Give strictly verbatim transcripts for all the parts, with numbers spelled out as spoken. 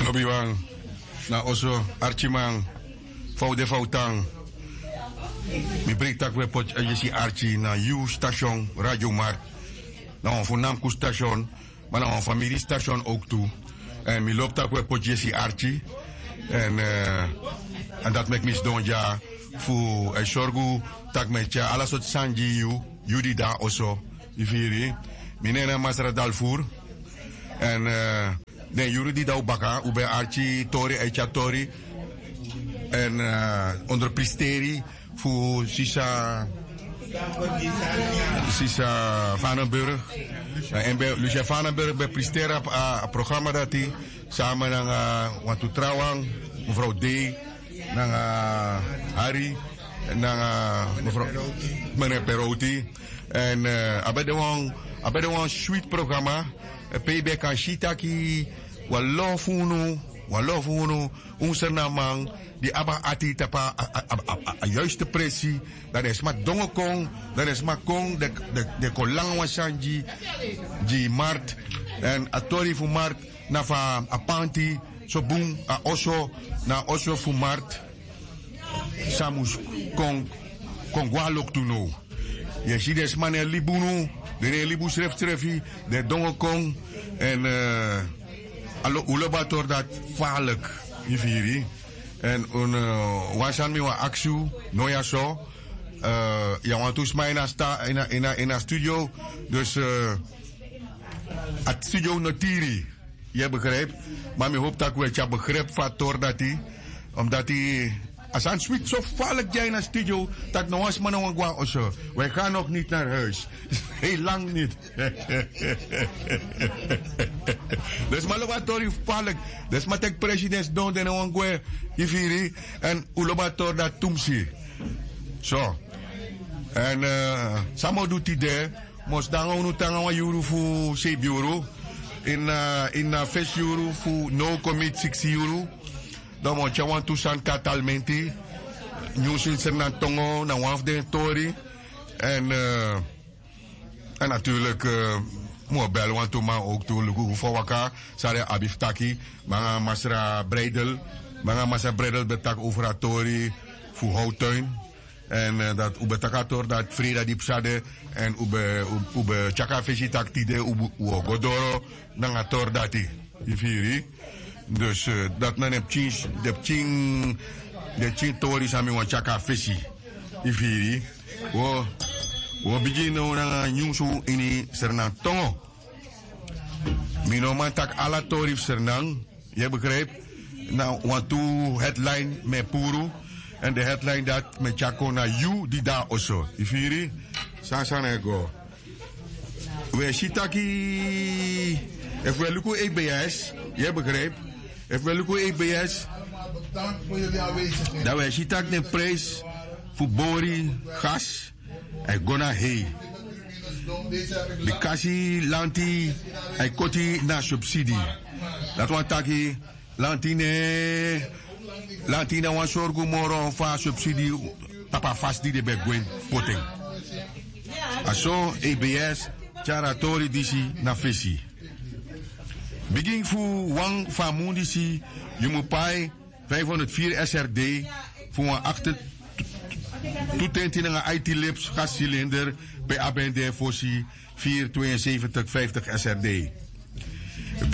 Lobiwan, na oso, arkiman, fa un de, fa un tan. Mi breiti tak' un e poti yesi arki na yu station Radio Markt. Na wan fu namku station, ma na wan famiri station ook tu. Èn mi lobi tak' un e poti yesi arki. Èn, eh, èn dati meki mi sidon dya fu e sorgu tak' mi e tyari ala sortu sani gi yu, yu di de na oso. Yu firi? Mi nen na Masra Dalfur. Èn, eh, den yuru di de na un baka, un ben arki tori, e tyari tori. Èn, eh, onderpresteri fu sisa, sisa Vanenburg. Eh, èn ben, Lucia Vanenburg ben presteri a, a, a programa dati. Sama nanga wantu trawan, mevrouw D, nanga Harry, nanga mevrouw, meneer Perouti. Èn, eh, a ben de wan, a ben de wan sweet programa. Eh, pe yu ben kan si taki wan lo fu unu, wan lo fu unu, un Sranan man di abi a ati tapu a, a, a, a, a, a juiste presi. Dan den sma dongo kon, dan den sma kon, den, den, den kon langa wan sani gi, gi Markt. Èn a tori fu Markt, na fa a panti so bun, a oso, na a oso fu Markt san mus kon, kon go na loktu now. Yu e si den sma no e libi unu, den no e libi un srefsrefi, den e dongo kon. Èn, eh, a lo, un lobi a tori dati falek, yu firi. Èn un, eh, wan sani mi wani aksi unu now ya so, eh, yu na wantu sma ini a sta, ini a, ini a, ini a studio. Dus, eh, a studio no tiri. Yu e begrijp? Ma mi hopi tak' un e tyari begrip fu a tori dati. Omdati a sani switi so falek dya ini a studio, tak' no wan sma no wani go na oso. Wij gaan nog niet naar huis. Heel lang niet. Den sma lobi a tori falek. Den sma teki presi, den sidon, den no wani gwe. Yu firi? Èn un lobi a tori dati tumsi. So. Èn, eh, san mi o du tide, mi o sidon nanga unu te nanga wan yuru fu seibi yuru. Ini, eh, ini a fesi yuru fu now kon miti siksi yuru. Dan mi o tyari wantu sani kon na Talimenti. Nyunsu ini Sranan tongo, na wan fu den tori. Èn, eh, èn natuurlijk, eh, mi o bel wantu man ook tu, luku fa a waka, san den abi fu taki. Mi nanga Masra Breidel. Mi nanga Masra Breidel ben taki over a tori fu Houtuin. Èn, eh, dati un ben taki a tori dati freida di pasa de. Èn un ben, un, un ben tyari a fesi taki tide un, un o go doro nanga a tori dati. Yu firi? Dus, eh, dati na den pikin, den pikin, den pikin tori san mi wani tyari kon na fesi. Yu firi? Un o, un o bigin now nanga nyunsu ini Sranan tongo. Mi no man taki ala tori fu Sranan, yu e begrijp? Na wantu headline mi e puru. Èn den headline dati mi e tyari kon na yu di de na oso. Yu firi? San sani e go. Wi e si taki, efu wi e luku E B S, yu e begrijp? Efu wi e luku E B S, dan wi e si taki den prijs fu bori, gas, a e go na hei. Bikasi lanti a e koti na subsidi. Dati wani taki lanti ne, lanti na wan sorgu moro fu a subsidi tapu a fasi di den ben gwe poti en. A so E B S tyari a tori disi na fesi. Bigin fu wan fu a mun disi yu mu pai vijfhonderdvier S R D fu wan achter tu tenti nanga aiti lips gascilinder pe a ben de fosi vier tweeënzeventig vijftig S R D.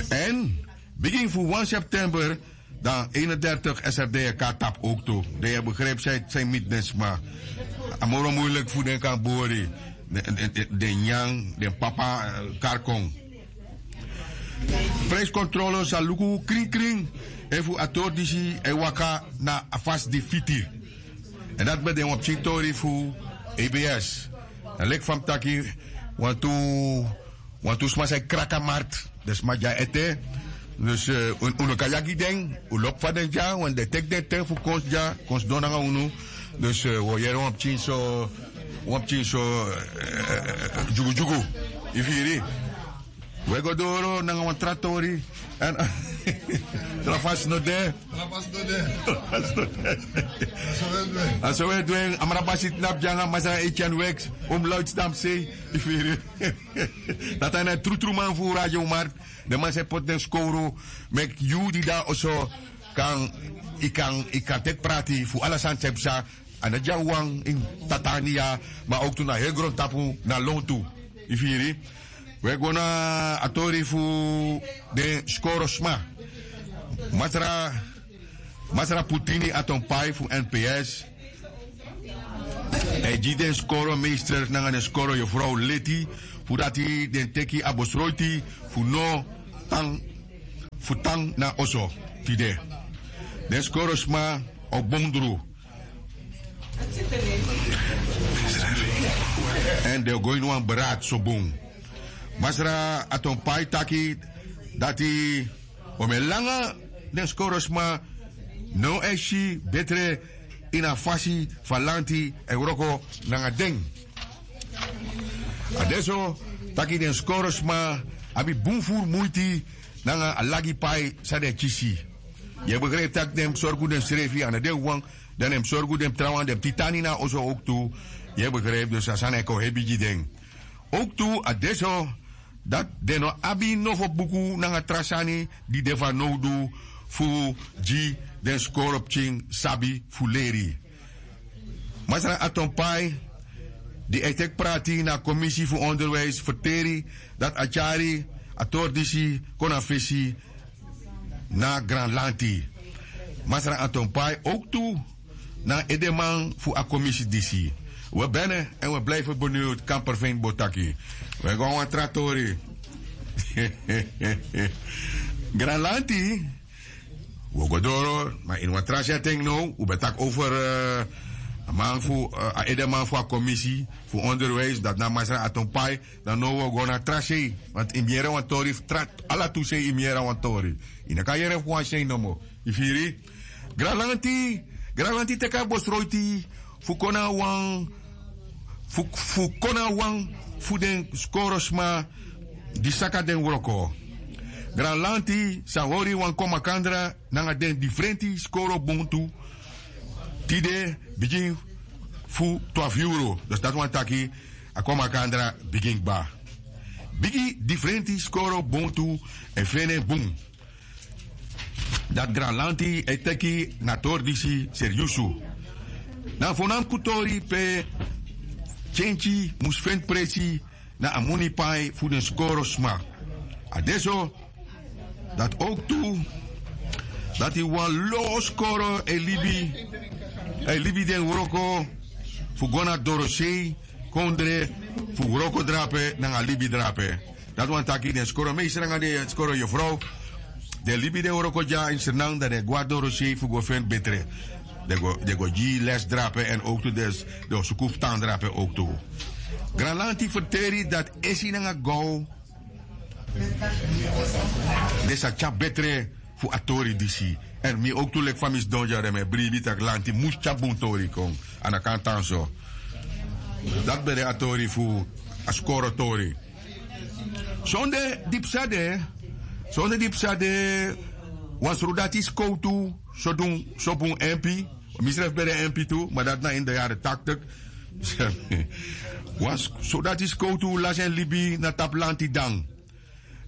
Èn bigin fu wan september dan eenendertig S R D e kon na tapu ook tu. Dan yu e begrijp san yu miti den sma. A moro moeilijk fu den kan bori. Den, den, den, den nyan, den papa, eh, kari kon. Prijskontrole sa luku krinkrin efu a tori disi e waka na a fasi di fiti. Èn dati ben de wan pikin tori fu E B S. Dan leki fa mi taki, wantu, wantu sma sa e kraki a markt, den sma dya ete. Dus, eh, un, un no kan yagi den, un lobi fa den dya, want den teki den ten fu kon dya, kon sidon nanga unu. Dus, eh, wi o yere wan pikin so, wan pikin so, eh, dyugudyugu. Yu firi? We go doro nanga wan tra tori. Èn tra fasi no de. Tra fasi no de. A so we du en, a so we du en. Amra basi tnapu dyanga masra Etienne Wex, um luidstam sei. Yu firi. Dati na trutru man fu Radio Markt. Den man sa e poti den skowru meki yu di de na oso kan, yu kan, yu kan teki prati fu ala sani san yu psa. A no dyawan ini Tatania, ma owktu na heri grontapu na lontu. Yu firi. We go na a tori fu den skoro sma. Masra, masra Putini Atonpai fu N P S e gi den skoro meester nanga den skoro yofrow leti fu dati den teki a besroiti fu no tan, fu tan na oso tide. Den skoro sma o bondru. Èn den o go ini wan beraad so bun. Masra Atonpai taki dati o mi e langa den skoro sma no e si betre ini a fasi fu a lanti e wroko nanga den. A de so taki den skoro sma abi bun furu muiti nanga a lagi pai san den e kisi. Yu e begrijpi tak' den mus sorgu densrefi, a no den wawan, dan den mus sorgu den trawan, den mus titani na oso owktu. Yu e begrijpi, dus a sani e kon hebi gi den. Owktu a de so dati den no abi nofo buku nanga tra sani di de fanowdu fu gi den skoro pikin sabi fu leri. Masra Atonpai, di e teki prati na a komisi fu onderwijs, ferteri dati a tyari a tori disi kon na fesi na Granlanti. Masra Atonpai owktu na edeman fu a komisi disi. We bene èn we blijfi beniwd, kan perfein bo taki. We go na wan tra tori. Granlanti. Wi o go doro, ma ini wan tra setting now, wi ben taki over a man fu a edeman fu a komisi fu onderwijs, dati na masra Atonpai. Dan now wi o go na tra sei, want yu mus yere wan tori fu tra, ala tu sei yu mus yere wan tori. Yu no kan yere fu wan sei nomo. Yu firi? Granlanti, Granlanti teki a bosroiti fu kon na wan fu kon na wan fu den skoro sma di saka den wroko. Granlanti sa hori wan kon makandra nanga den difrenti skoro bun tu. Tide bigin fu twafu yuru, dus dati wani taki a kon makandra bigin kba. Bigi difrenti skoro bun tu e feni en bun. Dati Granlanti e teki na tori disi seriusu. Na a fonamku tori pe kenki mus feni presi na a moni pai fu den skoro sma. A de so dati owktu dati wan lo skoro e libi, e libi den wroko fu go na dorosei kondre fu wroko drape nanga libi drape. Dati wani taki den skoro meester nanga den skoro yofrow, den libi den wroko dya ini Sranan, dan den e go na dorosei fu go feni betre. Den go, den go gi les drape èn owktu den o suku fu tan drape owktu. Granlanti ferteri dati esi nanga gow den sa tyari betre fu a tori disi. Èn mi owktu leki fa mi sidon dya, dan mi e bribi tak' lanti mus tyari bun tori kon. A no kan tan so. Dati ben de a tori fu a skoro tori. Sonde di psa de, sonde di psa de, wan srudati skowtu so dun, so bun empi. Misrefi ben de empi tu, ma dati na ini de yari taktik. Wan srudati skowtu lasi en libi na tapu lanti dan.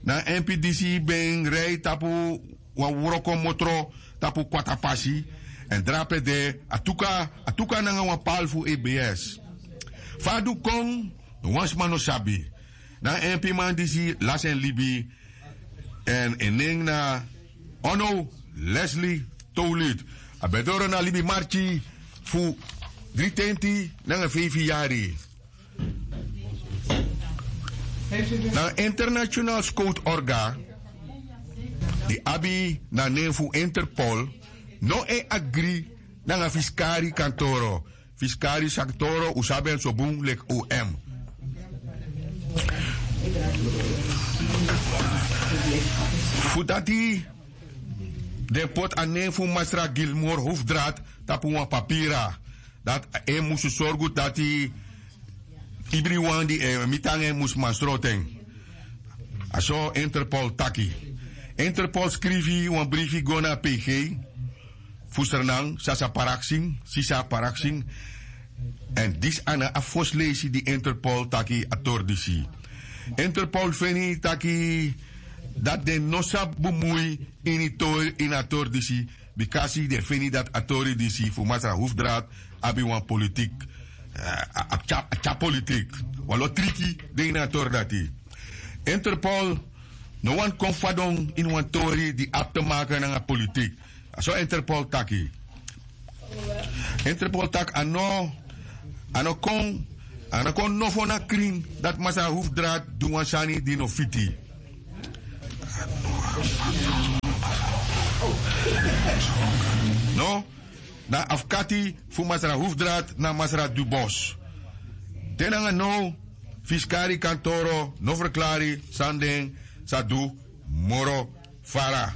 Na empi disi ben rei tapu wan wroko motro tapu kwatapasi. Èn drape de a tuka, a tuka nanga wan pal fu E B S. Fa a du kon, no wan sma no sabi. Na a empiman disi lasi en libi. Èn en nen na Ono Leslie Tolit. A ben doro na libi marki fu dritenti nanga feifi yari. Na a international scout orga di abi na nen fu Interpol no e agri nanga fiskari kantoro. Fiskari kantoro un sabi en so bun leki O M. Fu dati den poti a nen fu masra Gilmour Hoofdraad tapu wan papira. Dati en musu sorgu dati ibriwan di e miti nanga en mus man sroto en. A so Interpol taki. Interpol skrifi wan brifi go na P G fu Sranan, Sasa Paraksin, Sisa Paraksin. Èn disi na a fosi leisi di Interpol taki a tori disi. Interpol feni taki dati den no sa bumui ini tori, ini a tori disi, bikasi den feni dati a tori disi fu Masra Hufdraad abi wan politik, eh, a, a, tya, a tya politik. Wan lo triki de ini a tori dati. Interpol no wani kon fadon ini wan tori di abi te maken nanga politik. A so Interpol taki. Interpol taki a no, a no kon, a no kon nofo na krin dati Masra Hufdraad du wan sani di no fiti. No, na afkati fu Masra Hufdraad na Masra Dubos. Te nanga now, fiskari kantoro no ferklari san den sa du moro fara.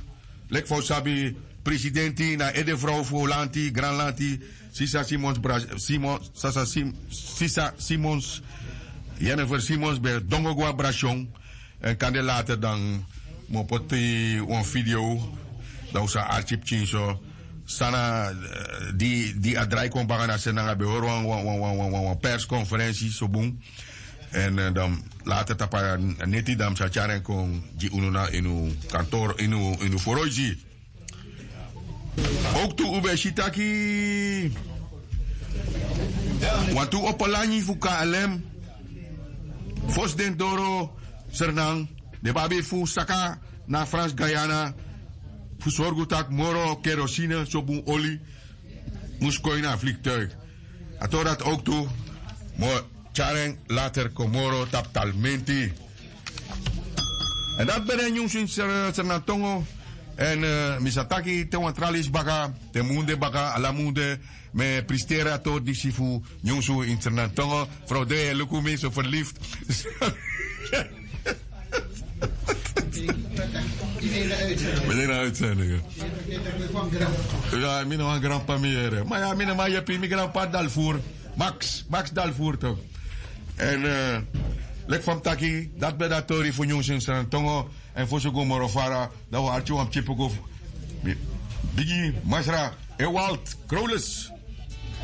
Leki fa un sabi, presidenti na edefrow fu lanti, granlanti, Sisa Simons Bra-, Simon, Sasa Sim-, Sisa Simons, Jennifer Simons ben dongo go na Brasyon. Èn kande later dan mi o poti wan video, dan un sa arki pikin so san na, eh, di, di a drai kon baka na se nanga ben hori wan, wan, wan, wan, wan, wan persconferentie so bun. Èn, eh, dan later tapu a neti dan mi sa tyari en kon gi unu na ini un kantor, ini un, ini un foroisi. Ook tu un ben si taki wantu opo langi fu K L M, fosi den doro Sranan, den ben abi fu saka na Frans Guyana fu sorgu taki moro kerosine, so bun oli, mus kon ini a vliegtuig. A tori dati ook tu mi o tyari en later kon moro tapu talmenti. Èn dati ben de nyunsu ini Sra-, Sranan tongo. Èn, eh, mi sa taki te wan tra leisi baka, te munde baka, ala munde, mi e pristeri a tori disi fu nyunsu ini Sranan tongo. Frow de, luku mi so verliefd. Mi de na uitzending. Ya, mi no wan grandpa mi yere. Ma ya, mi no man yepi, mi grandpa Dalvoer. Max, Max Dalvoer toch. Èn, eh, leki fa mi taki, dati ben de a tori fu nyunsu ini Sranan tongo. Èn fosi un go moro fara, dan un arki wan pikin poku fu mi bigi masra Ewald Crowless.